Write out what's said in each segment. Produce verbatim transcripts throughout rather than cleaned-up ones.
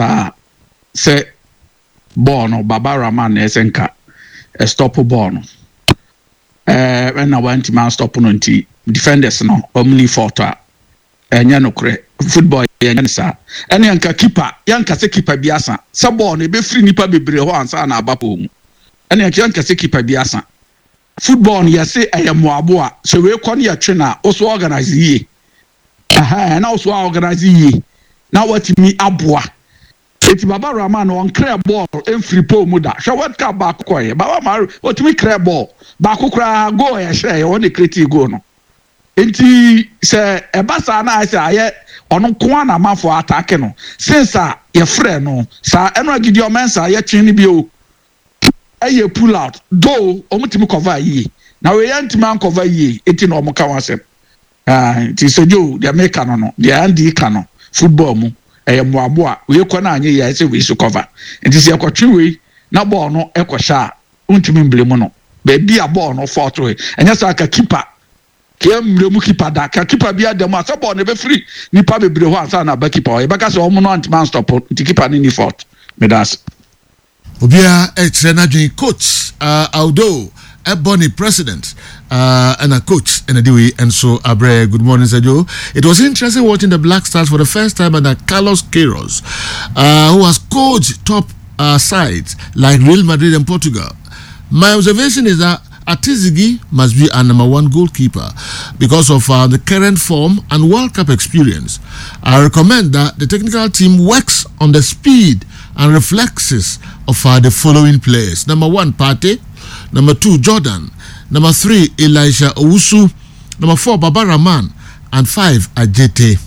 Paa sɛ bɔɔl no, Baba Rahman na ɛsɛ nka ɛstop bɔɔl no, ɛɛ ɛna wantumi anstop no, nti defenders no ɔmo ni fault a, ɛnyɛ nokorɛ. Football yɛnyɛ ne saa. Ɛne yɛnka keeper, yɛnka sɛ keeper bi asa sɛ bɔɔl no ebɛfiri nipa bebree hɔ ansa na aba pɔn mu. Ɛne yɛnka sɛ keeper bi asa. Football no, yɛse ɛyɛ mmoaboa. Sɛ wei kɔ no, yɛtwe na woso organize yie, ɛna woso organize yie na watumi aboa. Eti Baba Rahman no, ɔnclear bɔɔl mfiri pole mu da. Hwɛ, World Cup baako kɔɛ, Baba Mari otumi clear bɔɔl baako koraa, goal yɛ hyɛ yɛ, wɔn de create goal no. Nti sɛ ɛba saa na ayɛ sɛ ayɛ ɔno nko ara na amanfoɔ attack no since a yɛfrɛ no saa. Ɛno a Gideon Mensah yɛtwe no bio, ɛyɛ pull out though, wɔn tumi cover yie na wei yɛn ntumi ancover yie, eti na wɔn ka wɔn asɛm. Nti sɛ Joe deɛ meka no no deɛ Andy ka no, football mu ɛyɛ mmoaboa. Wei kɔ no anyɛ yie, ayɛ sɛ wei so cover. Nti sɛ yɛkɔtwe wei na bɔɔl no ɛkɔhyɛ a, wontumi mblame mu no. Baabi a bɔɔl no fault wei, ɛnyɛ sɛ aka keeper kea mmerɛ mu keeper da ka keeper bi ada mu a, sɛ bɔɔl no ɛbɛfiri nipa bebree hɔ ansa na aba keeper hɔ, yɛbɛka sɛ ɔmo no antumi anstop, nti keeper no ni fault. Meda ase. Obiara ɛkyerɛ n'adwene. Coach uh, Aldo Ebony president uh, and a coach and a wei nso abrɛ. Good morning, Sergio. It was interesting watching the Black Stars for the first time under Carlos Queiroz, uh, who has coached top uh, sides like Real Madrid and Portugal. My observation is that Atizigi must be our number one goalkeeper because of uh, the current form and World Cup experience. I recommend that the technical team works on the speed and reflexes of uh, the following players. Number one, Partey. Number two, Jordan. Number three, Elisha Owusu. Number four, Baba Rahman. And five, Ajete.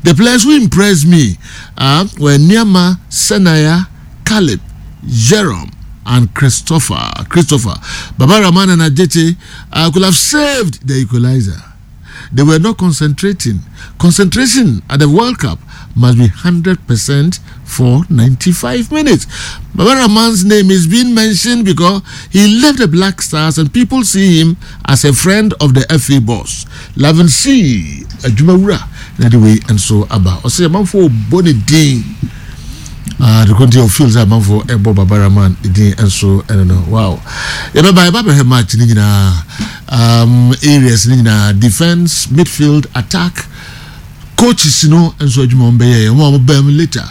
The players who impressed me uh, were Nyama, Senaya, Caleb, Jerome, and Christopher. Christopher. Baba Rahman and Ajete uh, could have saved the equalizer. They were not concentrating. Concentration at the World Cup must be one hundred percent for ninety-five minutes. Baba Rahman's name is being mentioned because he left the Black Stars and people see him as a friend of the F A boss. Lavin C. Adwumawura na de wei nso aba. Ɔsɛ amanfoɔ bɔ ne din. Uh, the country of fields amanfoɔ ɛbɔ Baba Rahman din nso ɛno no. Wow. Yɛbɛba yɛba bɛhwɛ match ne nyinaa, um, areas ne nyinaa, defense, midfield, attack, coaches no nso adwuma wɔn bɛyɛ, wɔn a wɔn bɛn mu later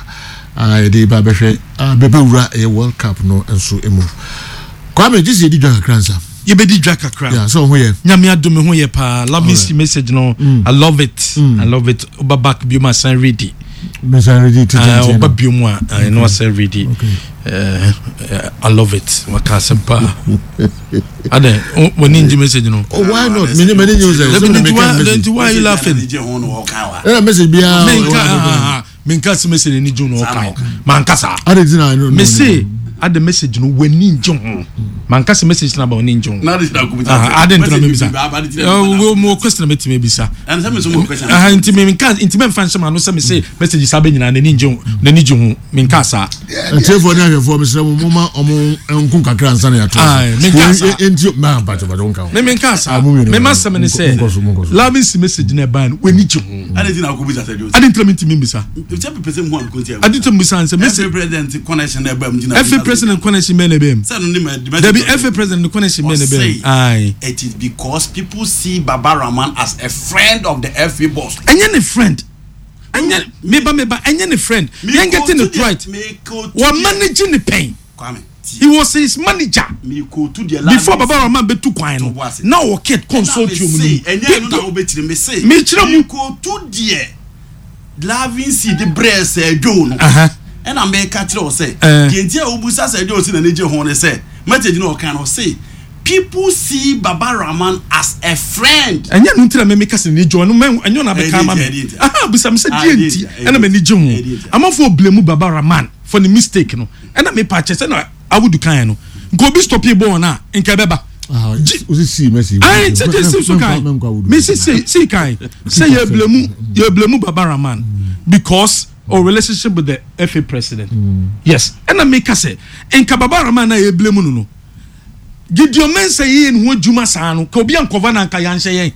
a yɛde ba bɛhwɛ bɛbɛwura ɛyɛ World Cup no nso mu. Kwame gye sɛ yɛdi dwa kakra nsa. Yɛbɛdi dwa kakra. Yeah, sɛ ɔho yɛ? Nyame adome, ho yɛ paa. Love me see message no mm. I love it mm. I love it. Woba back bio mu asan ready. Mesan ready titenten. Woba bio mu a ɛno asan ready. I love it. Waka asɛm paa adɛ, w'ani ngye message no? Oh, why not? Mene mene nye sɛ sɛ. Why are you laughing? Ɛna message biara. Menka menka sɛ message ani gye no, ɔkan manka saa. Ade ti na no. Me se ade message no w'ani ngye ho, manka sɛ message na ba w'ani ngye ho. Ade ntina mebisa mo question na mɛtumi ebisa nti menka, nti mɛmfa nhyɛ ma no sɛ me se message saa bɛ nyinaa n'ani ngye ho, n'ani gye ho, menka saa. Ntiefoɔ ne ahwɛfoɔ, mesrɛ mo, moma ɔmo nko kakra ansa na yɛato. Menka saa. Nti ma mpakyɛ mpakyɛ wo nka ho. Me menka saa. Mema sɛm ne sɛ loving si message na ɛban no w'ani gye ho. Ade ntina akɔbisa sɛ Joe. Ade ntina mentumi mbisa. Ade ntina mbisa nsɛ message. F A president connection na ɛbɛm gyina. F A president connection bɛn na ɛbɛm? Sɛ no ne ma. Dabi, F A president connection bɛn na ɛbɛm? Ayi. It is because people see Baba Rahman as a friend of the F A boss. Ɛnyɛ ne friend, ɛnyɛ meba meba, ɛnyɛ ne friend. Yɛn getting it right, wɔ manage ne pɛn. He was his manager before Baba Rahman bɛtu kwan no na ɔwɔ kit consortium no mu. Ɛnyɛ no na wobɛkyerɛ me se. Mekyerɛ mu. Mekotu deɛ Lavin C de brɛ sɛ Joe no, ɛna meka kyerɛ wo sɛ deɛ nti a wobusa sɛ Joe si n'ani gye ho ne sɛ message no ɔka no say people see Baba Rahman as a friend. Ɛnyɛ no ntina mɛmi kasa n'ani gye ho ɛno, ɛnyɛ ɔna abɛka ama mi aha bisa mi sɛ deɛ nti ɛna m'ani gye ho. Amanfoɔ blame Baba Rahman for the mistake no, ɛna mi pa kyɛ sɛ na Awudu kan no nka obi stop bɔɔl na nka ɛbɛba. Ayi sɛ gye si so kan mi si si si kan sɛ yɛ blame yɛ blame Baba Rahman because or relationship with the F A president mm. Yes, ɛna mi ka sɛ nka Baba Rahman na yɛ blame no no Gideon Mensah yɛ ne ho adwuma saa no, ka obi ankɔva na nka yɛanhyɛ yɛn.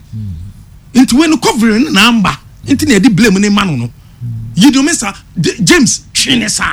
Nti wei no covering no na amba, nti na yɛde blame ne ma no no Gideon Mensah James twe ne saa.